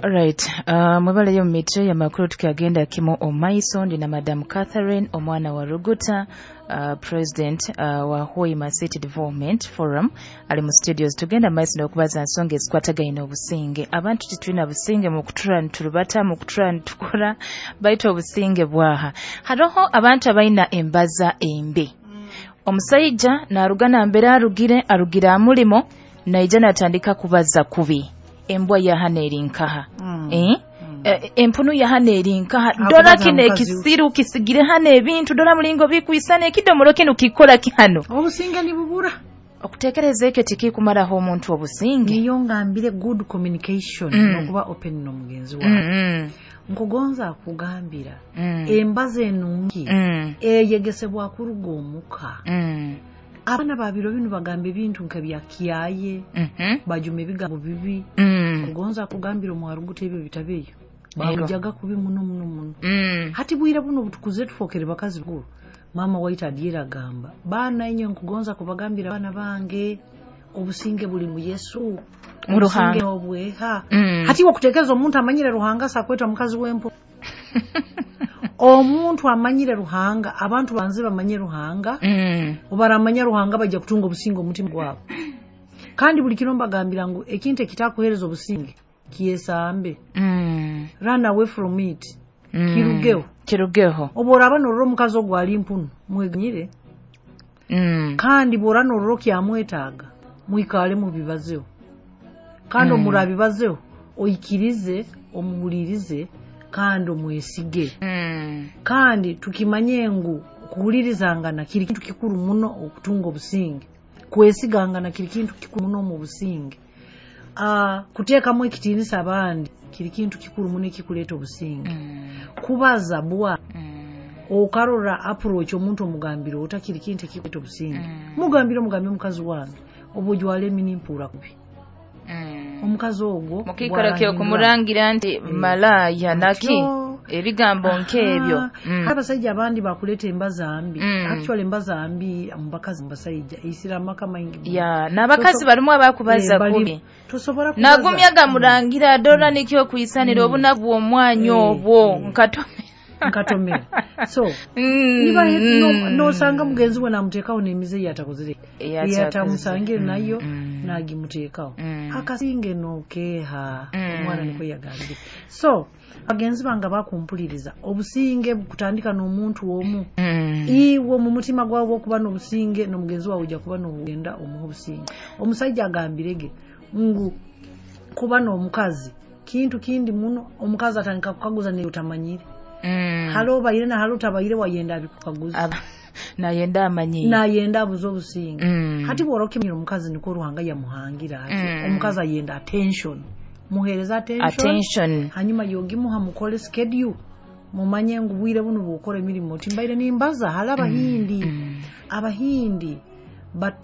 Alright, mwebaleyo mu mitwe y'amakuru. Tukyagenda kimu omaiso. Ndi na Madam Catherine omwana wa Ruguta, president wa Hoima City Development Forum, ali mu studios. Tugenda maiso n'okubaza nsonga ezikwatagaine obusinge. Abantu titulina businge mu kutura niturubata, mu kutura nitukora, baitu obusinge bwaha? Haroho abantu abaina embaza embi. Omusaija naruga nambere arugire amulimo, naija natandika kubaza kubi: "Embwa yahana eri nkaha?" Eh? Empunu yahana eri nkaha? Dora Akubaza kino mukazi we. Ekisiru kisigire hano ebintu, dora mulingo bikwisana, ekidomolo kino kikora ki hano? Obusinge nibubura. Okutekereza ekyo tikikumaraho omuntu obusinge. Niyo ngambire good communication nokuba open n'omugenzi wawe. Nkugonza akugambira embaza enungi eyegesebwa kuruga omuka. Abaana babiro binu bagamba ebintu nka bya kyaye, bajuma ebigambo bibi. Kugonza akugambira omwaruguta ebyo bitabeeyo, bamujaga kubi muno muno muno. Hati bwire buno butukuze, tufokere bakazi bakuru. Mama waitu adyera agamba, "Baana inywe, nkugonza kubagambira, baana bange, obusinge buli mu Yesu." Mu Ruhanga. Obusinge obweha. Hati wakutekereza omuntu amanyire Ruhanga sakweta mukazi wempo? Omuntu amanyire Ruhanga, abantu banze bamanye Ruhanga. Obaramanya Ruhanga, bajja kutunga obusinge omutima gwabo. Kandi buli kiro mbagambira ngu ekintu ekitakuhereza obusinge kyesambe. Run away from it. Kirugeho. Kirugeho. Oba oraba norora omukazi ogwo ali mpunu, mweganyire. Kandi bwora norora okyamwetaaga, mwikale mubibazeho. Kandi omurabibazeho, oikirize, omuhulirize kandi omwesige. Kandi tukimanye ngu kuhulirizangana kiri kintu kikuru muno okutunga obusinge. Kwesigangana kiri kintu kikuru muno omu businge. Kuteekamu ekitiinisa abandi kiri kintu kikuru muno ekikuleeta obusinge. Kubaza bwa okarora approach omuntu omugambire ota kiri kintu ekikuleeta obusinge. Mugambire, omugambire, "Omukazi wange, oba ojwala emini mpuura kubi." Omukazi ogwo mukikoro bw'arahindura- kyokumuragira nti malaaya naki, Atyo. ebigambo nk'ebyo. Aha. Abasajja abandi bakuleeta embaza mbi. Actually, embaza mbi mu bakazi, mu basajja eisira amaka maingi muno. Ya, n'abakazi balimu abakubaza Eh, kubi. Tosobola kubaza. Nagumya gamurangira, dora nikyo kwisanira obunaku bw'omwanya obwo nkatome. Nkatomera. So niba nosanga mugenzi we namuteekawo n'emize yatakozere, Eyatakoze. eyatamusangire nayo, nagimuteekawo. Akasinge nokeeha. Omwana niko yagambire. So bagenzi bange bakumpuliriza, obusinge bukutandika n'omuntu omu. Iwe mu mutima gwawe okuba n'obusinge n'omugenzi wawe, ojja kuba n'ogenda omuha obusinge. Omusajja agambirege ngu kuba n'omukazi kintu kindi muno. Omukazi atandika kukaguza neyo otamanyire. Hali obaire na hali otabaire, wayenda abikukaguza. Nayenda amanyi. Nayenda abuze obusinge. Hati bwora okimanyira omukazi niko Ruhanga yamuhangira ati omukazi ayenda attention, muhereza attention. Attention. Hanyuma yogimuha, mukole schedule, mumanye ngu bwire buno bwokora emirimu oti mbaire nimbaza. Hali abahindi, abahindi.